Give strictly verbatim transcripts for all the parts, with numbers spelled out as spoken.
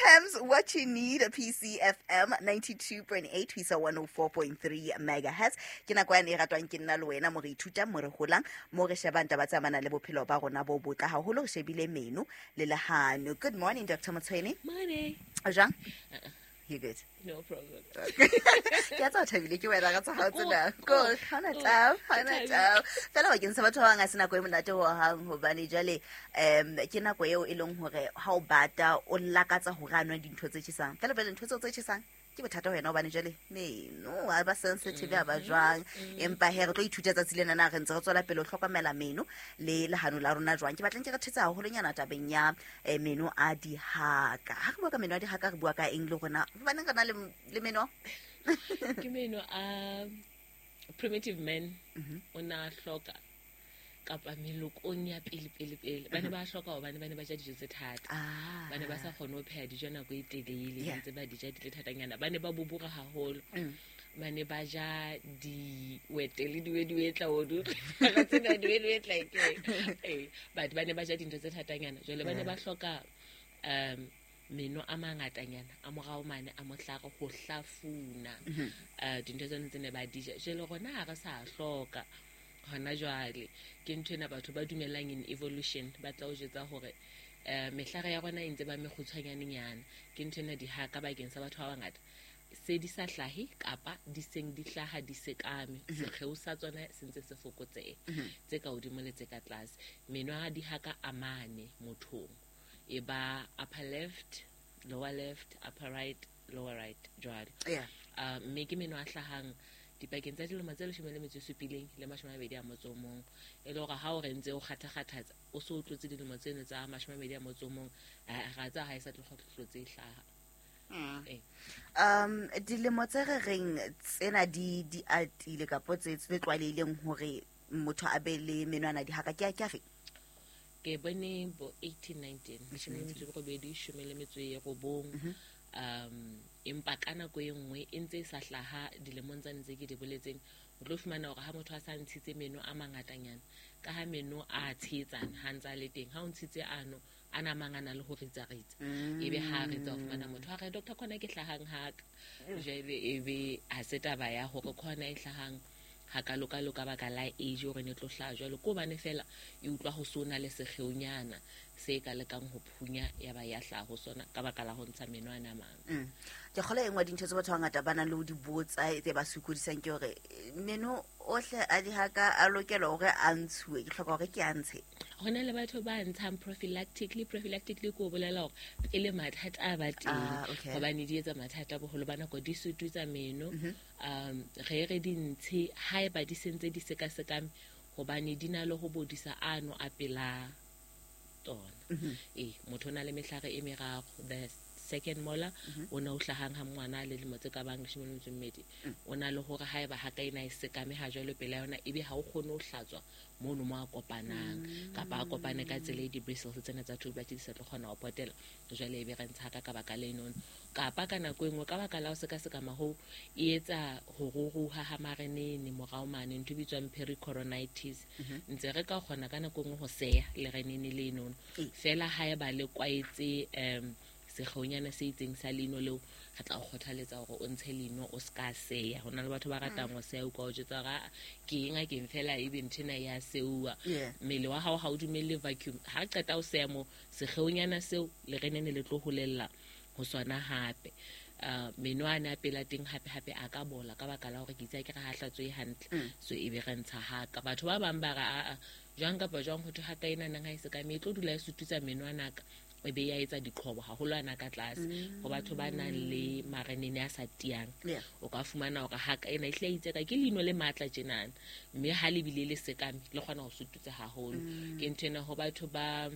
Tems, What You Need, P C F M ninety-two point eight, ho isa one oh four point three megahertz. Ke nako yane e ratwang ke nna le wena, mo re ithutang, mo re holang, mo re shebang taba tse amanang le bophelo ba rona bo botle haholo, re shebile meno le lehano. Good morning, Doctor Motshwene. Morning. O jwang? Uh-uh. You good? No problem. Ke a tswa thabile ke wena ka tsa tsena. Go, hana taba, hana taba. Fela bakeng sa batho ba bang ha se nako e monate ho hang, hobane jwale um ke nako eo e leng hore ha o bata o lakatsa hore a nwe dintho tse tjhesang. Fela pele ntho tseo tse tjhesang ke bothata ho wena, hobane jwale meno ha ba sensitive ha ba jwang. Empa he re tlo ithuta tsatsi lena na re ntse re tswela pele ho hlokomela meno le lehano la rona jwang. Ke batlang ke re thetsa haholonyana tabeng ya meno a dihaka. Ha re bua ka meno a dihaka re bua ka eng le rona? Hobaneng re na le le meno? Ke meno a primitive man o na hloka kapa melokong ya pele pele pele. Ba ne ba hloka hobane ba ne ba ja dijo tse thata. Ba ne ba sa kgone ho pheha dijo nako e telele, ntse ba di ja di le thatanyana. Ba ne ba bobora haholo. Ba ne ba ja diwete le diwediwetla o du. Ba tsena diwediwetla ke. Eh, but ba ne ba ja dintho tse thatanyana. Jwale ba ne ba hloka um meno a mangatanyana a morao mane a mohlare ho hlafuna uh dintho tsena tse ne ba di ja. Jwale rona ha re sa hloka hona jwale. Ke ntho ena batho ba dumelang in evolution ba tla o jetsa hore eh mehlare ya rona e ntse ba mekgutshwanyanenyana. Ke ntho ena dihaka bakeng sa batho ba bangata se di sa hlahe kapa di seng di hlaha di sekame, sekgeo sa tsona se ntse se fokotseha, tse ka hodimo le tse ka tlase. Meno a dihaka a mane mothong, e ba upper left, lower left, upper right, lower right jwalo. Yeah. Uh, mme ke meno a hlahang dipakeng tsa dilemo tse leshome le metso e supileng le mashome a mabedi a motso o mong. E le hore ha o re ntse o kgathakgathatsa o so o tlotse dilemo tseno tsa mashome a mabedi a motso o mong, ra tsa ha e sa tlo tlotse e hlaha. Um dilemo tse re reng tsena di di atile kapo tse tse tlwaelehileng hore motho a be le menwana dihaka ke a ke afe? Ke bone bo eighteen nineteen, leshome le metso e robedi, shome le metso e robong. Um empa ka nako e nngwe e ntse e sa hlaha dilemong tsane tse ke di boletseng, o tlo fumana hore ha motho a sa ntshitse meno a mangatanyana, ka ha meno a tshehetsana ha ntse a le teng, ha o ntshitse ano a na mangana le ho ritsaritsa, ebe ha ritsa o fumana motho a re doctor khona ke hlahang haka. Jwale ebe ha se taba ya hore khona e hlahang ha ka loka loka baka la age hore ne tlo hlaha jwalo, ko bane fela e utlwa ho sona le sekgeonyana se ka lekang ho phunya ya ba ya hlaha ho sona ka baka la ho ntsha meno ana mang. Ke kgola e nngwe dintho tse batho ba bangata ba nang le ho di botsa tse ba sokodisang ke hore meno ohle a dihaka a lokela hore a ntshuwe, ke hloka hore ke a ntshe. Ho na le batho ba ntshang prophylactically. Prophylactically ke ho bolela hore pele mathata a ba teng, hobane di etsa mathata boholo ba nako di sututsa meno. Um re re di ntshe haeba di sentse di sekasekame, hobane di na le ho bodisa ano a pela tsona. Eh motho o na le mehlare e meraro. The second molar o na o hlahang ha ngwana le dilemo tse ka bang leshome le metso e mmedi, o na le hore haeba ha ka ena e sekame ha jwalo pela yona, ebe ha o kgone ho hlatswa mono mo a kopanang, kapa a kopane ka tsela e di-bristles tsena tsa toothbrush di sa tlo kgona ho potela, jwale ebe re ntsha ka ka baka lenono. Kapa ka nako e nngwe ka baka la ho sekasekama hoo e etsa ho ruruha ha marenene morao mane, ntho e bitswang pericoronitis. Ntse re ka kgona ka nako e nngwe ho seya lerenene lenono fela haeba le kwaetse um sekgeonyana se itseng sa leino leo, re tla o kgothaletsa hore o ntshe leino o ska seya. Ho na le batho ba ratang ho seya, o ka o jwetsa hore ke eng a keng fela ebe ntho ena ya seuwa. Mmele wa hao ha o dumelle vacuum. Ha qeta o seya mo sekgeonyana seo lerenene le tlo holella ho sona hape. Uh, meno a ne a pela teng hape hape a ka bola ka baka la hore ke itse ke re ha hlatswe hantle, so ebe re ntsha haka. Batho ba bang ba re a jwang kapa jwang ho thwe haka ena nang ha e se ka me e tlo dula e sututsa meno ana ka e be ya etsa diqhobo haholo ana ka tlase. Ho batho ba nang le marenene a sa tiyang, o ka fumana hore haka ena e hle itse ka ke leino le matla tjenana, mme ha le bile le sekame le kgona ho sututsa haholo. Ke ntho ena ho batho ba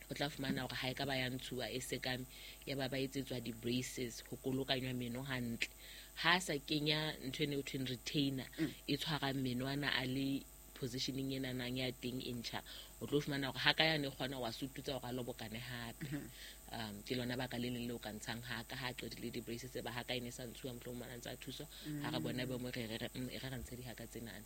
o tla fumana hore ha e ka ba ya ntshuwa e sekame ya ba ba etsetswa di-braces ho kolokanywa meno hantle. Ha sa kenya ntho ena e thweng retainer e tshwarang meno ana a le positioning ena nang ya teng e ntjha, O tlo fumana hore haka yane e kgona wa sututsa hore a lobokane hape. Um ke lona baka le leng le o ka ntshang haka ha qetile di-braces tse ba haka e ne sa ntshuwa mohlomong a ntse a thuswa. Ha re bona bo mo re re re e re re ntshe dihaka tsenana.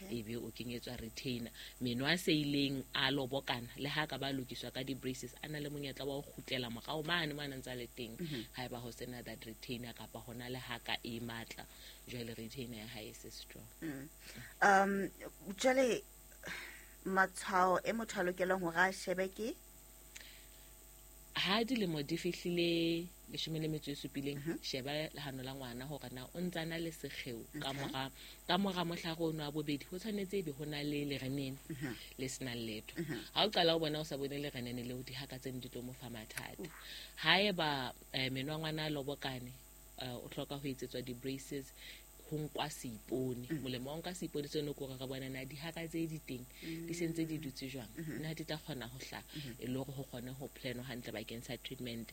Ebe o kenyetswa retainer. Meno a seileng a lobokana le ha ka ba lokiswa ka di-braces a na le monyetla wa ho kgutlela morao mane mo a ntse a le teng. Haeba ho sena that retainer kapa hona le haka e matla, jwale retainer ya hae e se strong. Um jwale matshwao e motho a lokelang hore a shebe ke ha dilemo di fihlile leshome le metso e supileng, sheba lehano la ngwana hore na o ntse a na le sekgeo ka mora ka mora mohlare ono wa bobedi ho tshwanetse ebe ho na le lerenene le senang letho. Ha o qala o bona o sa bone lerenene leo, dihaka tseno di tlo mo fa mathata. Haeba meno a ngwana a lobokane, o hloka ho etsetswa di-braces, ho nkwa seipone. Molemo wa nka seipone seno ke hore re bona na dihaka tse di teng di sentse di dutse jwang, na di tla kgona ho hlaha e le hore ho kgone ho planwa hantle bakeng sa treatment.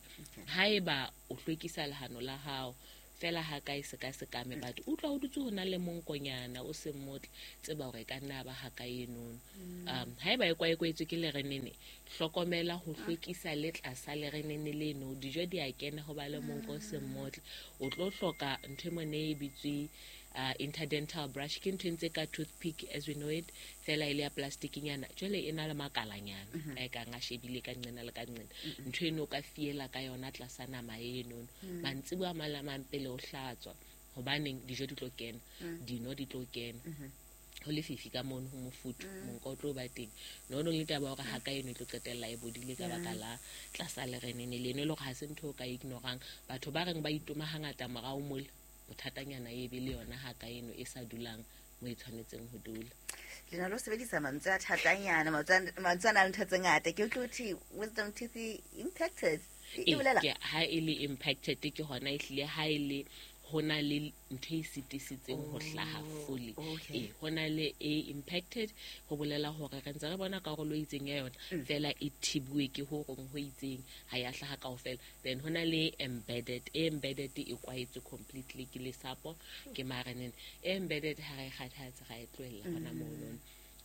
Haeba o hlwekisa lehano la hao fela ha ka e seka sekame, but utlwa o dutse ho na le monkonyana o seng motle, tseba hore e ka nna ba haka enono. Um haeba e kwaekwetswe ke lerenene, hlokomela ho hlwekisa le tlasa lerenene leno, dijo di a kena ho ba le monko o seng motle. O tlo hloka ntho e mone e bitswe uh, interdental brush, ke ntho e ntse ka toothpick as we know it, fela e le ya plastic-nyana, jwale e na le makalanyana a e kang a shebile ka nqena le ka nqena. Ntho eno o ka fiela ka yona tlasa nama enono mantsiboya a mang le a mang pele o hlatswa, hobaneng dijo di tlo kena, dino di tlo kena, ho lefifi ka mono, ho mofuthu, monko o tlo ba teng. No no le taba hore haka eno e tlo qetella e bodile ka baka la tlasa lerenene leno, e le hore ha se ntho o ka ignorang. Batho ba reng ba itoma hangata morao mole, bothatanyana e be le yona haka eno e sa dulang mo e tshwanetseng ho dula. Le na lo sebedisa mantswe a thatanyana, mantswe a nang le ntho tse ngata. Ke utlwe hothwe wisdom teeth impacted. E bolela ke ha e le impacted ke hona ehlile ha e le ho na le ntho e sitisitseng ho hlaha fully. E ho na le e impacted ho bolela hore re ntse re bona karolo e itseng ya yona fela e thibuwe ke ho rong ho itseng, ha ya hlaha kaofela. Then ho na le embedded, e embedded e kwaetswe completely ke lesapo ke marenene. E embedded ha re kgathatse ra e tlohella hona mono.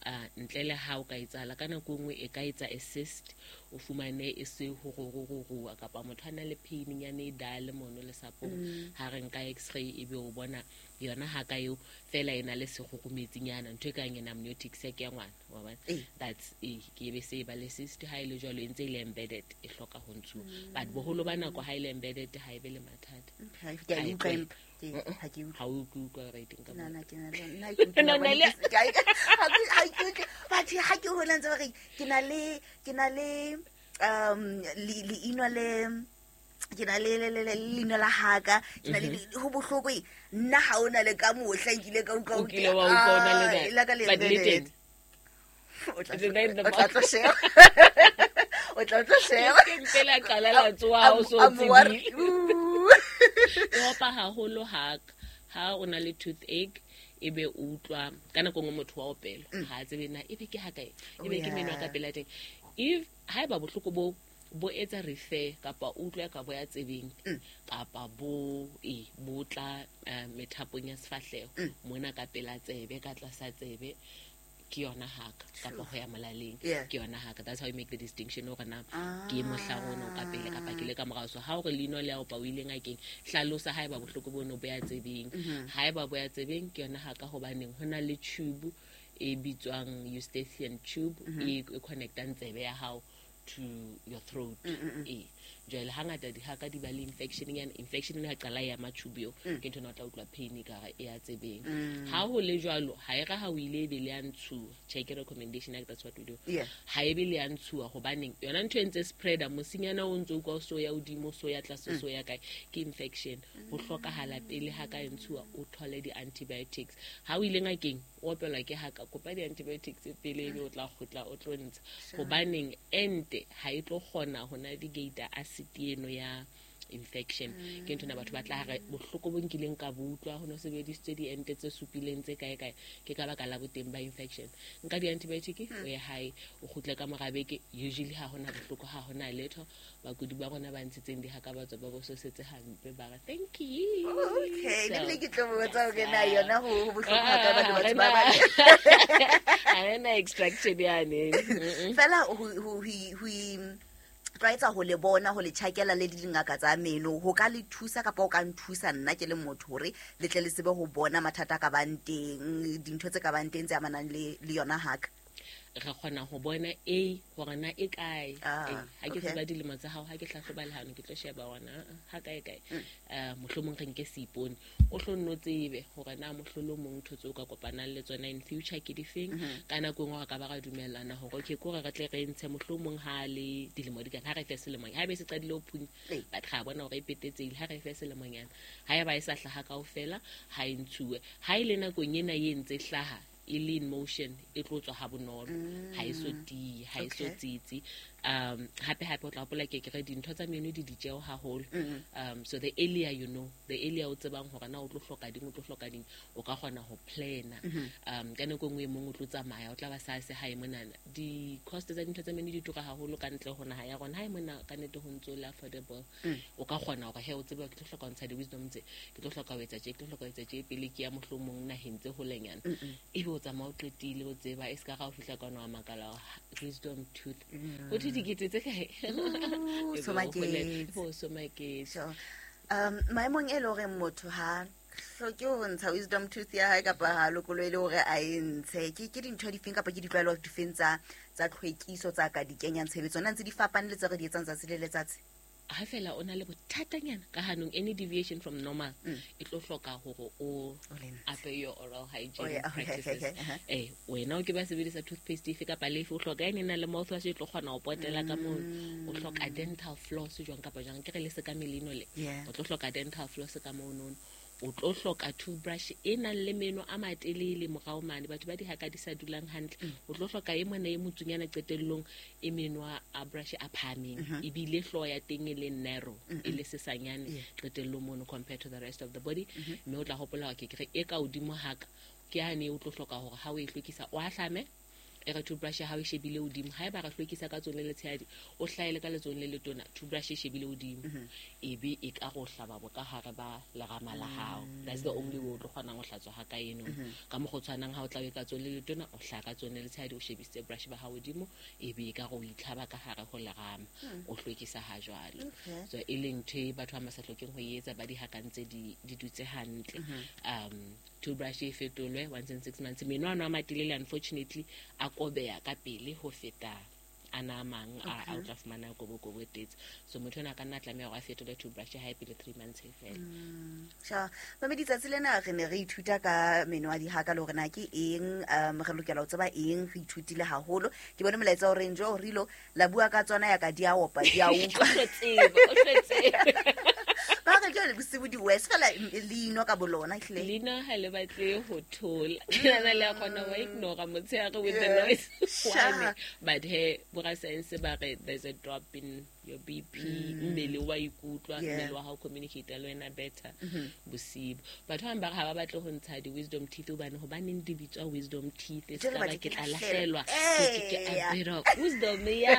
Uh, ntle le ha o ka etsahala ka nako nngwe e ka etsa a cyst, o fumane e se ho rororua kapa motho a na le pain-nyana e dale mono lesapong, ha re nka x-ray ebe o bona yona haka eo fela e na le sekgokometsinyana, ntho e kang ena amniotic sac ya ngwana, wa bona, that's e ke be se ba le cyst. Ha e le jwalo e ntse e le embedded, e hloka ho ntshuwa, but boholo ba nako ha e le embedded ha e be le mathata. Ke a utlwa empa ha ke utlwe. Ha o utlwe right nka Na na ke na le nna ke utlwa ha ke utlwe but ha ke hola ntse ba re ke na le ke na le um leino le ke na le le le leino la haka, ke na le ho bohloko eng nna ha ona le ka mohla nkile ka utlwa o kile wa utlwa ona le la ka le embedded. O tla tlo sheba, o tla tlo sheba ke mpela qala la tsoha o so tsebile. E opa haholo haka ha o na le toothache, ebe o utlwa ka nako nngwe motho wa opela ha tsebe na ebe ke haka ebe ke meno ka pela teng. If haeba bohloko bo bo etsa refer kapa o utlwa ka bo ya tsebeng kapa bo e bo tla methapong ya sefahleho mona ka pela tsebe ka tlasa tsebe, ke yona haka kapa ho ya molaleng ke yona haka. That's how you make the distinction hore na ke mohlare ono ka pele kapa ke le ka morao. So ha hore leino le a opa o ile ngakeng, hlalosa haeba bohloko bono bo ya tsebeng. Haeba bo ya tsebeng ke yona haka, hobaneng ho na le tube e bitswang eustachian tube e connectang tsebe ya hao to your throat. E jwale hangata dihaka di ba le infection nyana, infection ha qala ya matube eo ke ntho ena o tla utlwa pain ka re e ya tsebeng. Ha ho le jwalo ha e ra ha o ile be le ya ntshuwa, check recommendation like that's what we do. Ha e be le ya ntshuwa hobaneng yona ntho e ntse spreader mosinyana o ntse utlwa so ya hodimo so ya tlase so ya kae ke infection. Ho hlokahala pele ha ka ntshuwa o thole di antibiotics. Ha o ile ngakeng o opelwa ke haka, kopa di antibiotics pele ebe o tla kgutla o tlo ntsha, hobaneng ente ha e tlo kgona ho navigate acid eno ya infection. Ke ntho na batho ba tla re bohloko bo nkileng ka bo utlwa ho no sebedisitswe diente tse supileng tse kae kae ke ka baka la boteng ba infection. Nka di-antibiotic o ye hae o kgutle ka mora beke, usually ha hona bohloko ha hona letho. Bakudi ba rona ba ntshitseng dihaka ba tswa ba bososetse hampe ba re thank you. Okay, ne ke tlo botsa hore na yona ho bohloko ha ka batho batho ba ba ha ena extraction yane fela ho ho ho tlwaetsa ho le bona ho le tjhakela le dingaka tsa meno ho ka le thusa kapa ho ka nthusa nna ke le motho hore le tle le tsebe ho bona mathata ka bang teng dintho tse ka bang teng tse amanang le le yona haka. Re kgona ho bona a hore na e kae, ha ke tseba dilemo tsa hao, ha ke hlahloba lehano ke tlo sheba hona ha kae kae. Eh mohlomong re nke seipone o hlo nno tsebe hore na mohlolo mong ntho tse o ka kopanang le tsona in future ke difeng. Ka nako engwe re ka ba ra dumellana hore okay kore re tle re ntshe mohlomong ha le dilemo di ka ha re fe selemong ha be se qadile ho phunya but ra bona hore e petetsehile ha re fe selemonyana ha e ba e sa hlaha kaofela ha e ntshuwe. Ha ile nakong ena e ntse hlaha e le in motion e tlo tswa ha bonolo ha e so tiye ha e so tsitsi. Um hape hape o tla hopola ke ke re dintho tsa meno di ditjeo haholo. Um so the earlier you know, the earlier o tsebang hore na o tlo hloka ding o tlo hloka ding o ka kgona ho plana. Um ka nako engwe e mong o tlo tsamaya o tla ba sa se hae monana di cost tsa dintho tsa meno di tura haholo ka ntle ho naha ya rona. Hae mona ka nete ho ntso le affordable o ka kgona hore he o tsebe ke tlo hloka ho ntsha di wisdom tse ke tlo hloka ho etsa tje ke tlo hloka ho etsa tje pele ke ya mohlomong naheng tse holenyana ebe o tsamaya o qetile o tseba e ska ga o fihla ka no a makala wisdom tooth o thi dikete tse kae so maketse o so maketse. Um maemong e le hore motho ha hloke ho ntsha wisdom tooth ya hae kapa ha lokolo e le hore a e ntshe ke ke dintho difeng kapa ke ditlwaelo difeng tsa tsa tlhwekiso tsa ka di kenyang tshebetso na ntse di fapane le tse re di etsang tsatsi le letsatsi? Ha fela o na le bothatanyana ka hanong any deviation from normal e tlo hloka hore o ape your oral hygiene practices. Eh wena o ke ba sebedisa toothpaste efe kapa lefe o hloka ene na le mouthwash e tlo kgona ho potela ka moo o hloka dental floss jwang kapa jwang ke re le se ka melino le o tlo hloka dental floss ka moo nono o tlo hloka toothbrush e nang le meno a matelele morao mane batho ba dihaka di sa dulang hantle o tlo hloka e mona e motsunyana qetellong e meno a brush a phahameng ebile hlooho ya teng e le narrow e le sesanyane qetellong mono compared to the rest of the body. Mme o tla hopola hore ke re e ka hodimo haka ke hane o tlo hloka hore ha o e hlwekisa o ahlame e re toothbrush ha o shebile hodimo ha eba re hlwekisa ka tsone le tshehadi o hlaele ka letsong le letona toothbrush e shebile hodimo ebe e ka go hlaba bo ka hare ba lerama la hao. That's the only way o tlo kgonang ho hlatswa ha ka eno ka mokgwa o tshwanang ha o tla o ka tsone le letona o hlaka tsone le tshehadi o shebisitse brush ba hao hodimo ebe e ka go itlhaba ka hare ho lerama o hlwekisa ha jwalo. So e leng ntho e batho ba ba sa hlokeng ho etsa ba di hakantse di di dutse hantle. Um toothbrush e fetolwe once in six months. Meno ano a matelele unfortunately a kobeya ka pele ho feta ana mang a o tla fumana kobo kobo tetse so motho ona ka nna tlameha hore a fetole toothbrush ha e pele three months e fela. Sha mamedi tsatsi lena re ne re ithuta ka meno a dihaka le hore na ke eng um re lokela ho tseba eng re ithutile haholo. Ke bone molaetsa o reng jo rilo la bua ka tsona ya ka di a opa di a utlwa tseba o tletse ba re ke le bosibu di west fela leino ka bolona ehlile leino ha le batle ho thola nna le kgona ho ignore motshehare with the noise one but he bora science ba re there's a drop in your B P mmele wa ikutlwa mmele wa hao communicate le wena better bosibu. Batho ba ba ha ba batle ho ntsha di wisdom teeth hobane hobaneng di bitswa wisdom teeth e ska ba ke tla lahlelwa ke ke a bit of wisdom ya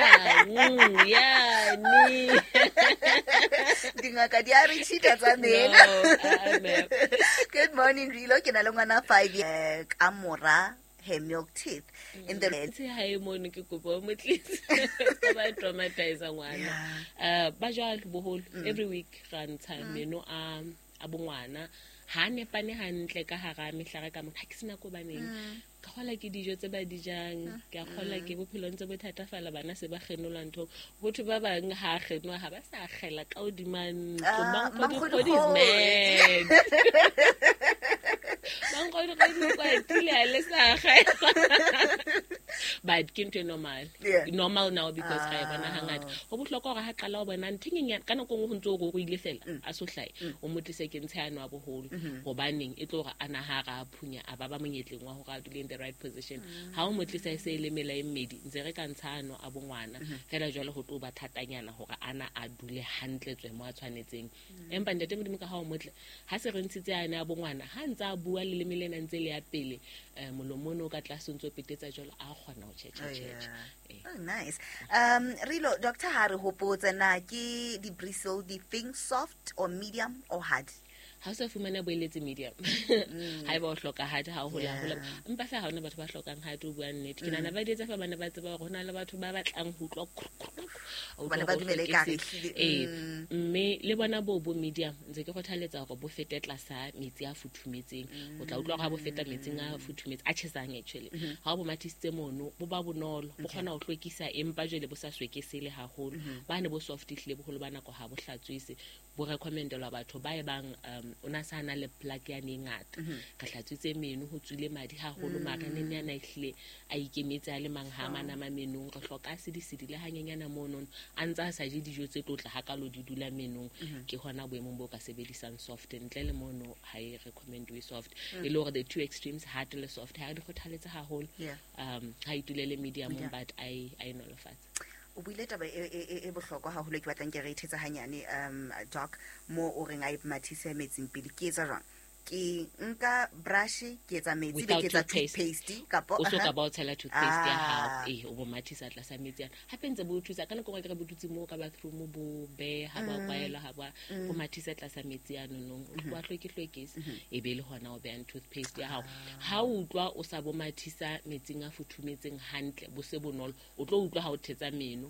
ya ni dingaka di a re cheata tsa meno. Good morning Rilo ke na le ngwana five ka mora her milk teeth in the tse hae mono ke kopo mo tlise ba traumatize ngwana eh ba jwalo boholo every week ra ntsha meno a a bongwana ha nepane hantle ka hara mehlare ka motho ha ke sena ko baneng ka kgola ke dijo tse ba di jang ke a kgola ke bophelong tse bothatafala bana se ba kgenolwa ntho botho ba bang ha kgenwa ha ba sa kgela ka hodima ntlo mankgodi is mad mankgodi kwatile ha le sa kgela But ke ntho e normal. Yeah. Normal now because ra e bona Ah. hangata. Ho bohlokwa hore ha qala ho bona ntho e nyenyane ka nako e nngwe ho ntso o ruruhile fela a so hlahe, o mo tlise ke ntshe ano a boholo, hobaneng e tlo hore a na ha ra phunya, a ba ba monyetleng wa hore a dule in the right position. Ha o mo tlisa e se e le mela e mmedi, ntse re ka ntsha ano a bongwana fela, jwale ho tlo ba thatanyana hore ana a dule hantle tswe mo a tshwanetseng. Empa ntate Modimo ka ha o motle, ha se re ntshitse ane a bongwana, ha ntse a bua leleme lena ntse le ya pele, um molomo ono o ka tlase o ntso petetsa jwalo, a kgona ho tjhetjha Oh, tjhetjha. yeah. Eh. Oh, nice. Um, Rilo, doctor ha re hopotse na ke di-bristle di feng, soft or medium or hard? Ha o sa fumana boeletse, medium. Ha eba o hloka hard, ha o hola hola. Yeah. Empa fela ha hona batho ba hlokang hard, o bua nnete. Ke nahana ba di etsa fa bana ba tseba hore ho na le batho ba batlang ho utlwa krr, krr, krr, a utlwa Hobane ba hore o dumele ekare hlwekise. ehlile, Ee, mm. mme le bona bo bo medium, ntse ke kgothaletsa hore bo fete tlasa metsi a futhumetseng. O tla utlwa hore ha bo feta metsing a futhumetse, a tjhesang actually, ha o bo mathisitse mono, bo ba bonolo, bo kgona ho hlwekisa, empa jwale bo sa swekesele haholo. Bane bo soft ehlile boholo ba nako ha bo hlatswise. Bo recommendelwa batho ba e bang um o na sa na le plaque yane e ngata, re hlatswitse meno, ho tswile madi haholo, mara neng yana ehlile a ikemetse a le mang, ha manama menong, re hloka a sedisedi le hanyenyana monono, a ntse a sa je dijo tse tlotla hakalo di dula menong, ke hona boemong bo ka sebedisang soft. Ntle le mono ha e recommendwe soft, e le hore the two extremes, hard le soft, ha di kgothaletse haholo. Yeah. um ha itulele medium, Medium. but a e a e nolofatse. O buile taba e, e, e- e bohlokwa haholo e ke batlang ke re ithetsa hanyane, um doc, mo o reng a e mathise metsing pele. Ke etsa jwang? Ke nka brush, ke etsa metsi, be Without ke etsa toothpaste. Toothpaste kapo? O so Aha. ka ba o tshela toothpaste ya hao. Ah. Ee, o bo mathisa tlasa metsi ana, hape ntse bo o thusa ka nako e nngwe, akere bo dutse moo ka bathroom, bo beha bo kwaelwa, ha ba bo mathisa tlasa metsi anonong, wa hlweke-hlwekise, e be le hona o behang toothpaste ya hao. Ha o utlwa o sa bo mathisa metsing a futhumetseng hantle, bo se bonolo, o tlo utlwa ha o thetsa meno.